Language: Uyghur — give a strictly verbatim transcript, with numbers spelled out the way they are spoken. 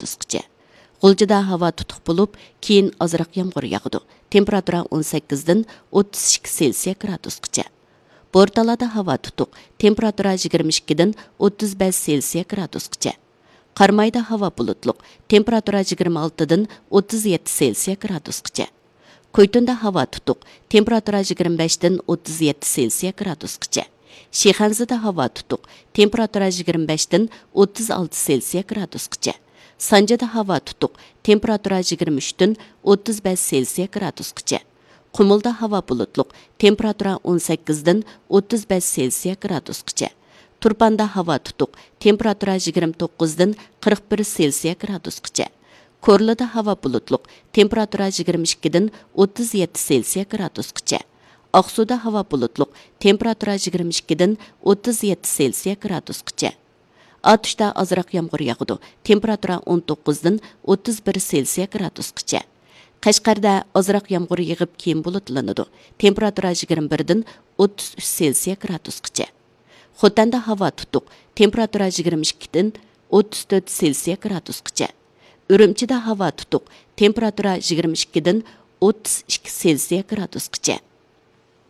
گرادۇسقىچە. غۇلجىدا ھاۋا تۇتۇق بولۇپ، كېيىن ئازراق يامغۇر ياغىدۇ. تېمپېراتۇرا ئون سەككىزدىن ئوتتۇز ئىككى سېلسىيە گرادۇسقىچە. بورتالادا ھاۋا تۇتۇق، تېمپېراتۇرا يىگىرمە ئىككىدىن ئوتتۇز بەش سېلسىيە گرادۇسقىچە. قارامايدا ھاۋا بۇلۇتلۇق، تېمپېراتۇرا يىگىرمە ئالتىدىن ئوتتۇز يەتتە سېلسىيە گرادۇسقىچە. كويتۇندا ھاۋا تۇتۇق، تېمپېراتۇرا يىگىرمە بەشتىن ئوتتۇز يەتتە سېلسىيە گرادۇسقىچە. شىخەنزىدە ھاۋا تۇتۇق، تېمپېراتۇرا يىگىرمە بەشتىن ئوتتۇز ئالتە سېلسىيە گرادۇسقىچە. سانجىدا ھاۋا تۇتۇق، تېمپېراتۇرا يىگىرمە ئۈچتىن ئوتتۇز بەش سېلسىيە گرادۇسقىچە. قۇمۇلدا ھاۋا بۇلۇتلۇق، تېمپېراتۇرا ئون سەككىزدىن ئوتتۇز بەش سېلسىيە گرادۇسقىچە. تۇرپاندا ھاۋا تۇتۇق، تېمپېراتۇرا يىگىرمە توققۇزدىن قىرىق بىر سېلسىيە گرادۇسقىچە. كورلىدا ھاۋا بۇلۇتلۇق، تېمپېراتۇرا يىگىرمە ئىككىدىن ئوتتۇز يەتتە سېلسىيە گرادۇسقىچە. ئاقسۇدا ھاۋا بۇلۇتلۇق، تېمپېراتۇرا يىگىرمە ئىككىدىن ئوتتۇز يەتتە سېلسىيە گرادۇسقىچە. ئاتۇشتا ئازراق يامغۇر ياغىدۇ، تېمپېراتۇرا ئون توققۇزدىن ئوتتۇز بىر سېلسىيە گرادۇسقىچە. قەشقەردە ئازراق يامغۇر يېغىپ، كېيىن بۇلۇتلىنىدۇ، تېمپېراتۇرا يىگىرمە بىردىن ئوتتۇز ئۈچ سېلسىيە گرادۇسقىچە. خوتەندە ھاۋا تۇتۇق، تېمپېراتۇرا يىگىرمە ئىككىدىن ئوتتۇز تۆت سېلسىيە گرادۇسقىچە. ئۈرۈمچىدە ھاۋا تۇتۇق، تېمپېراتۇرا يىگىرمە ئىككىدىن ئوتتۇز ئىككى سېلسىيە گرادۇسقىچە.